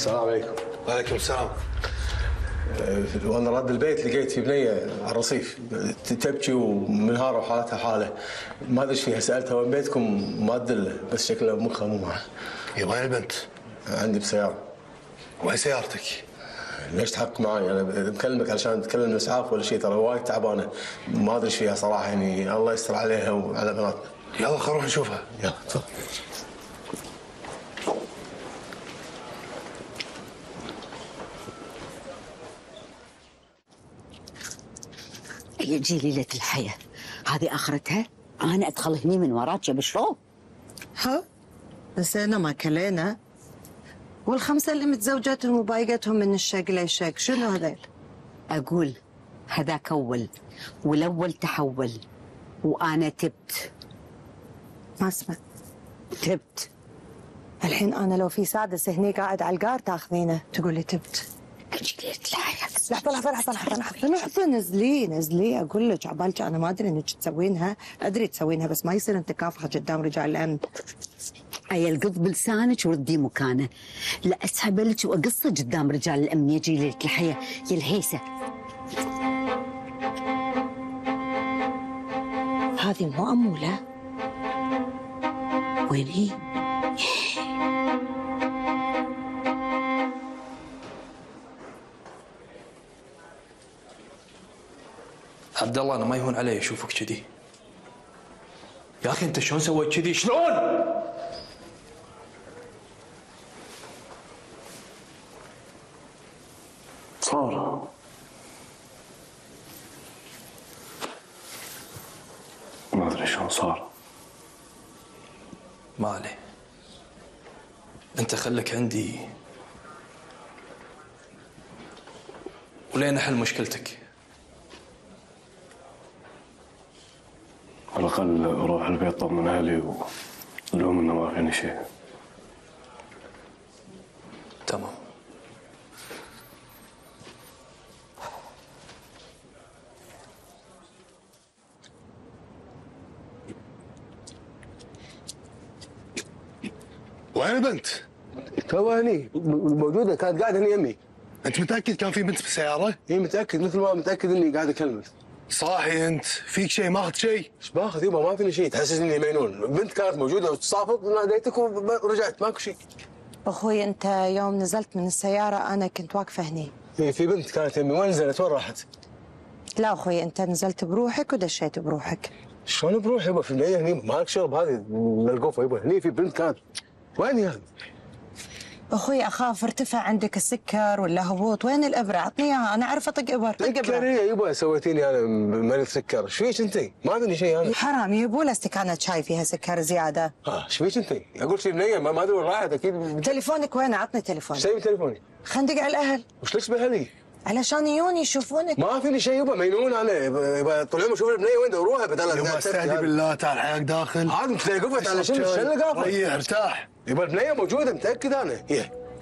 السلام عليكم. وعليكم السلام. وانا راد البيت لقيت في بنيه على الرصيف تبكي ومنهاره وحالتها حاله، ما ادري ايش فيها. سالتها وين بيتكم ما تدله، بس شكلها مخها مو معه. يا وين البنت؟ عندي بسياره. وين سيارتك؟ ليش تحقق معي؟ انا بكلمك علشان تكلم الاسعاف ولا شيء، ترى وايد تعبانه ما ادري ايش فيها صراحه، يعني الله يستر عليها وعلى بناتنا. يلا خلينا نروح نشوفها. يلا تفضل. يجي ليلة الحياة هذه آخرتها، أنا أدخل هني من وراك يا بشرو. ها نسينا ما كلينا، والخمسة اللي متزوجتهم وبايقتهم من الشق للشق شنو هذيل؟ أقول هذاك أول والأول تحول، وأنا تبت. ما اسمع تبت. الحين أنا لو في سادس هني قاعد على القار تاخذينه تقولي تبت. أجي ليلة الحياة. لحظة نزلي أقول لك عبالك أنا ما أدري إنك تسوينها، أدري تسوينها بس ما يصير أنت كافحة قدام رجال الأمن. أي القض بلسانك وردي مكانه، لا أسحب لك وأقصه قدام رجال الأمن. يجي ليلة الحياة يا الهيسة. هذه مو أمولة؟ وين هي؟ عبد الله انا ما يهون علي اشوفك كذي. يا اخي انت شلون سويت كذي؟ شلون؟ صار ما ادري شلون صار. ما عليه، انت خليك عندي ولين احل مشكلتك. على الأقل أروح البيت طمن أهلي ولوم إنه ما فيني شيء. تمام. وين البنت؟ تو هني موجوده، كانت قاعده هني يمي. انت متاكد كان في بنت بالسياره؟ اي متاكد، مثل ما متاكد اني قاعد اكلمك. صاحي انت؟ فيك شيء؟ ماخذ شيء؟ ايش باخذ يبا؟ ما فيني شيء، تحسسني مجنون. بنت كانت موجوده وتصافط وناديتك ورجعت، ماكو شيء. أخوي أنت يوم نزلت من السيارة أنا كنت واقفة هني. في بنت كانت يمي، وين نزلت؟ وين راحت؟ لا أخوي أنت نزلت بروحك ودشيت بروحك. شلون بروح يبا؟ في البنيه هني مالك شرب هذه للقوفه يبا. هني في بنت كانت، وين هي؟ أخوي أخاف ارتفع عندك السكر ولا هبوط، وين الإبرة؟ عطني إياها أنا أعرف أطق إبر. طق إبرة. سكريه يبا، سويتيني أنا مريض سكر. ايش فيك أنت؟ ما فيني شيء أنا. حرام يبوا له استكانة شاي فيها سكر زيادة. ايش فيك أنت؟ أقول شيء بنيه ما أدري وين راحت أكيد. تليفونك وين؟ عطني تليفونك. ايش تبي تليفوني؟ خلينا ندق على الأهل. وش ليش بأهلي؟ علشان يجون يشوفونك. ما فيني شيء يبا، مجنون انا. يبا طول اليوم اشوف البنيه وين اروحها بدل. يبا استهدي بالله، تعال حياك داخل. عاد انت قفت على شنو اللي قافه؟ ريح ارتاح. يبا البنيه موجوده متاكد انا.